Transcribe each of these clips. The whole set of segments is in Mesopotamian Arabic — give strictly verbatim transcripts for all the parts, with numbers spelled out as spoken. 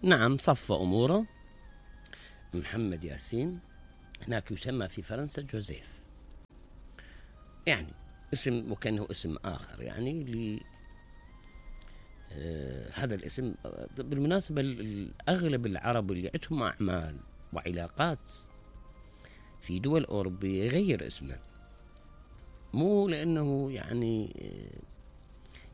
نعم صف أموره محمد ياسين، هناك يسمى في فرنسا جوزيف، يعني اسم وكأنه اسم آخر يعني ل آه هذا الاسم. بالمناسبة أغلب العرب اللي عندهم أعمال وعلاقات في دول أوروبية يغير اسمه، مو لأنه يعني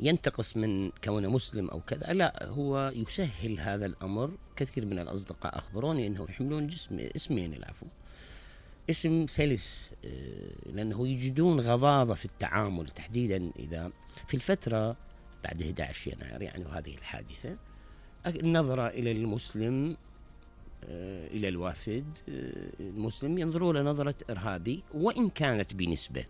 ينتقص من كونه مسلم أو كذا، لا، هو يسهل هذا الأمر. كثير من الأصدقاء أخبروني أنه يحملون جسم اسمين العفو، اسم سلس، لأنه يجدون غضاضة في التعامل، تحديدا إذا في الفترة بعد أحد عشر يناير يعني وهذه الحادثة، النظرة إلى المسلم، إلى الوافد المسلم، ينظروا له نظرة إرهابي، وإن كانت بنسبة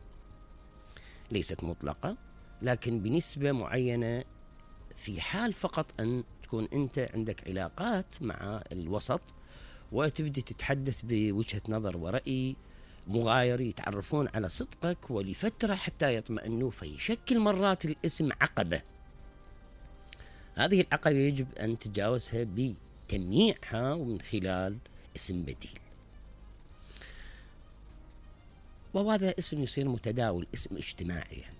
ليست مطلقة، لكن بنسبة معينة، في حال فقط أن تكون أنت عندك علاقات مع الوسط وتبدأ تتحدث بوجهة نظر ورأي مغاير، يتعرفون على صدقك ولفترة حتى يطمئنوا، فيشكل مرات الاسم عقبة. هذه العقبة يجب أن تتجاوزها بتمييعها ومن خلال اسم بديل، وهذا اسم يصير متداول، اسم اجتماعي يعني.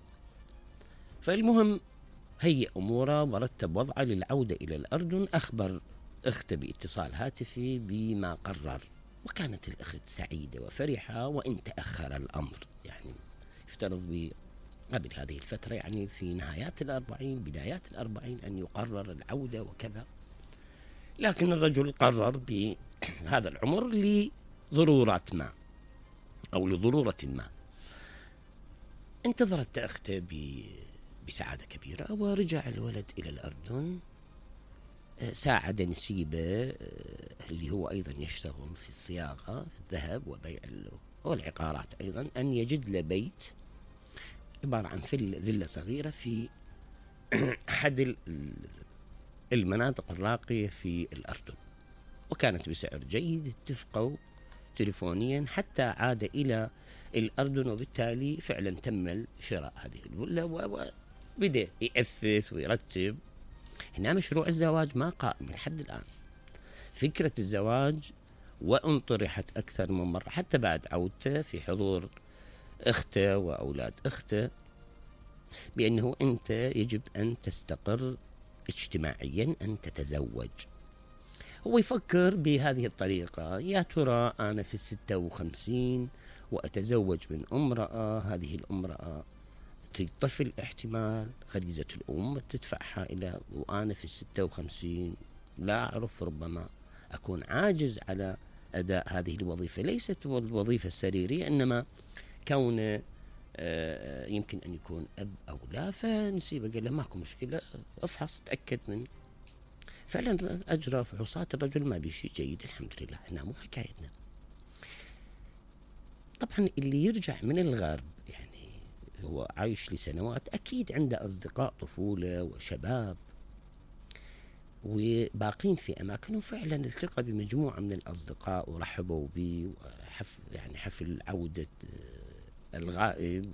فالمهم هيئ أموره ورتب وضعه للعودة إلى الأردن، أخبر أخته باتصال هاتفي بما قرر، وكانت الأخت سعيدة وفرحة، وإن تأخر الأمر يعني يفترض قبل هذه الفترة، يعني في نهايات الأربعين بدايات الأربعين، أن يقرر العودة وكذا، لكن الرجل قرر بهذا العمر لضرورات ما أو لضرورة ما. انتظرت أخته بسعادة كبيرة، ورجع الولد إلى الأردن. ساعد نسيبه اللي هو أيضا يشتغل في الصياغة في الذهب وبيع والعقارات أيضا، أن يجد له بيت عبارة عن فيلا صغيرة في أحد المناطق الراقية في الأردن، وكانت بسعر جيد. اتفقوا تليفونيا حتى عاد إلى الأردن، وبالتالي فعلا تم شراء هذه الفيلا، وبدأ يأثث ويرتب. هنا مشروع الزواج ما قائم لحد الآن، فكرة الزواج وإن طرحت أكثر من مرة حتى بعد عودته في حضور أخته وأولاد أخته، بأنه أنت يجب أن تستقر اجتماعيا، أن تتزوج. هو يفكر بهذه الطريقة، يا ترى أنا في الستة وخمسين وأتزوج من امرأة، هذه الامرأة طفل احتمال غريزة الأم تدفعها إلى، وأنا في الستة وخمسين لا أعرف، ربما أكون عاجز على أداء هذه الوظيفة، ليست الوظيفة السريرية، إنما كون يمكن أن يكون أب أو لا. فنسيبه قال له ماكو مشكلة، افحص تأكد من، فعلا أجرى فحوصات، الرجل ما بيشي جيد الحمد لله. هنا مو حكايتنا. طبعا اللي يرجع من الغرب يعني هو عايش لسنوات، أكيد عنده أصدقاء طفولة وشباب وباقين في أماكنهم، فعلا التقى بمجموعة من الأصدقاء ورحبوا به، وحفل يعني حفل عودة الغائب،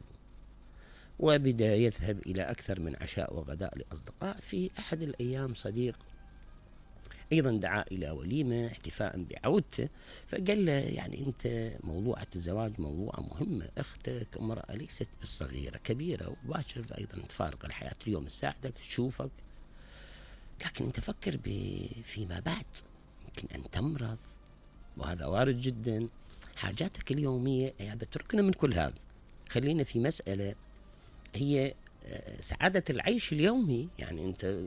وبدأ يذهب إلى أكثر من عشاء وغداء لأصدقاء. في أحد الأيام صديق أيضا دعا إلى وليمة احتفاء بعودته، فقال له يعني أنت موضوعة الزواج موضوع مهمة، أختك امرأة ليست بالصغيرة، كبيرة، وباشر أيضا تفارق الحياة، اليوم تساعدك تشوفك، لكن أنت فكر فيما بعد، يمكن أن تمرض وهذا وارد جدا، حاجاتك اليومية يا بتركنا من كل هذا، خلينا في مسألة هي سعادة العيش اليومي. يعني أنت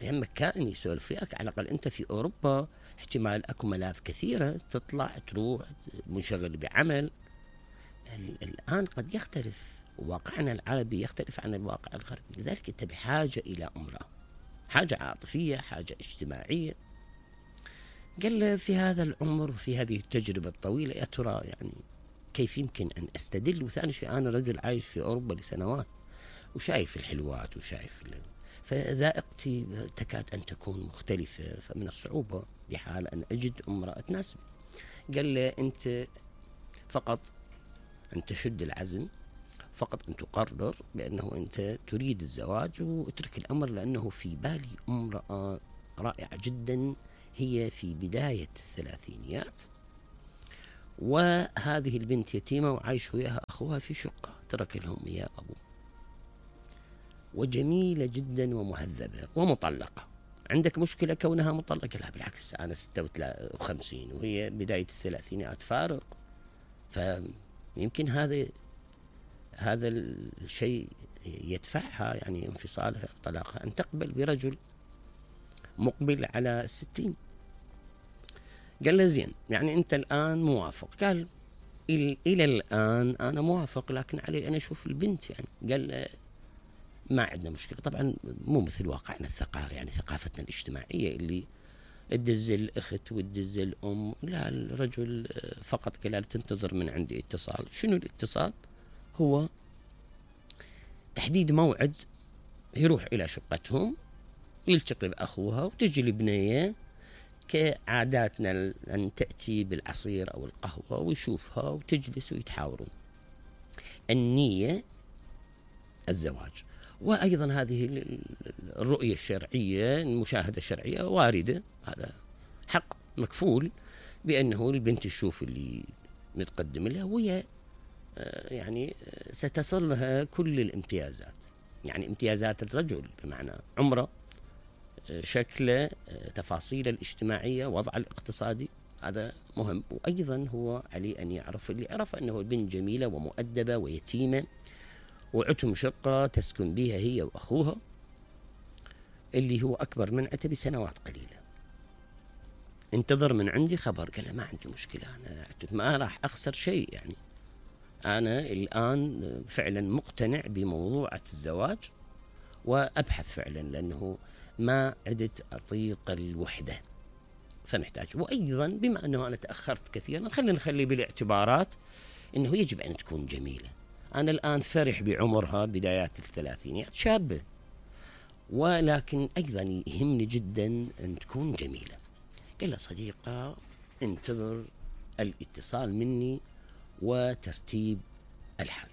يهمك كائن يسولف فيك، على الأقل أنت في أوروبا احتمال أكو ملاذ كثيرة تطلع تروح منشغل بعمل. الآن قد يختلف واقعنا العربي، يختلف عن الواقع الغربي، لذلك أنت بحاجة إلى امرأة، حاجة عاطفية، حاجة اجتماعية. قال له في هذا العمر وفي هذه التجربة الطويلة يا ترى يعني كيف يمكن أن أستدل؟ وثاني شيء أنا رجل عايش في أوروبا لسنوات وشايف الحلوات وشايف فذائقتي تكاد أن تكون مختلفة، فمن الصعوبة بحال أن أجد امرأة تناسبني. قال له أنت فقط أن تشد العزم، فقط أن تقرر بأنه أنت تريد الزواج، واترك الأمر، لأنه في بالي امرأة رائعة جدا، هي في بداية الثلاثينيات، وهذه البنت يتيمة وعايش وياها أخوها في شقة ترك لهم إياه أبوه، وجميلة جدا ومهذبة ومطلقة. عندك مشكلة كونها مطلقة؟ لا بالعكس، أنا ستة وخمسين وهي بداية الثلاثينات، فارق. فيمكن هذا هذا الشيء يدفعها يعني انفصالها طلاقها أن تقبل برجل مقبل على الستين. قال له زين، يعني أنت الآن موافق؟ قال إلى الآن أنا موافق، لكن علي أنا أشوف البنت. يعني قال له ما عندنا مشكلة. طبعا مو مثل واقعنا الثقافي، يعني ثقافتنا الاجتماعية اللي تدز الأخت وتدز الأم، لا، الرجل فقط قال تنتظر من عندي اتصال. شنو الاتصال؟ هو تحديد موعد يروح إلى شقتهم، يلتقي بأخوها وتجي البنية كعاداتنا أن تأتي بالعصير أو القهوة ويشوفها وتجلس ويتحاورون. النية الزواج. وأيضا هذه الرؤية الشرعية، المشاهدة الشرعية واردة، هذا حق مكفول بأنه البنت تشوف اللي متقدم لها وهي يعني ستصل لها كل الامتيازات، يعني امتيازات الرجل بمعنى عمره، شكله، تفاصيله الاجتماعية، وضع الاقتصادي، هذا مهم. وأيضا هو عليه أن يعرف اللي عرف أنه البنت جميلة ومؤدبة ويتيمة وعتم شقة تسكن بها هي وأخوها اللي هو أكبر منعته بسنوات قليلة. انتظر من عندي خبر. قال له ما عندي مشكلة، أنا ما راح أخسر شيء، يعني أنا الآن فعلا مقتنع بموضوع الزواج وأبحث فعلا، لأنه ما عدت أطيق الوحدة فمحتاج. وأيضا بما أنه أنا تأخرت كثيرا، خلينا نخلي بالاعتبارات أنه يجب أن تكون جميلة. أنا الآن فرح بعمرها بدايات الثلاثينيات، شابة، ولكن أيضا يهمني جدا أن تكون جميلة. قال له صديقة انتظر الاتصال مني وترتيب الحال.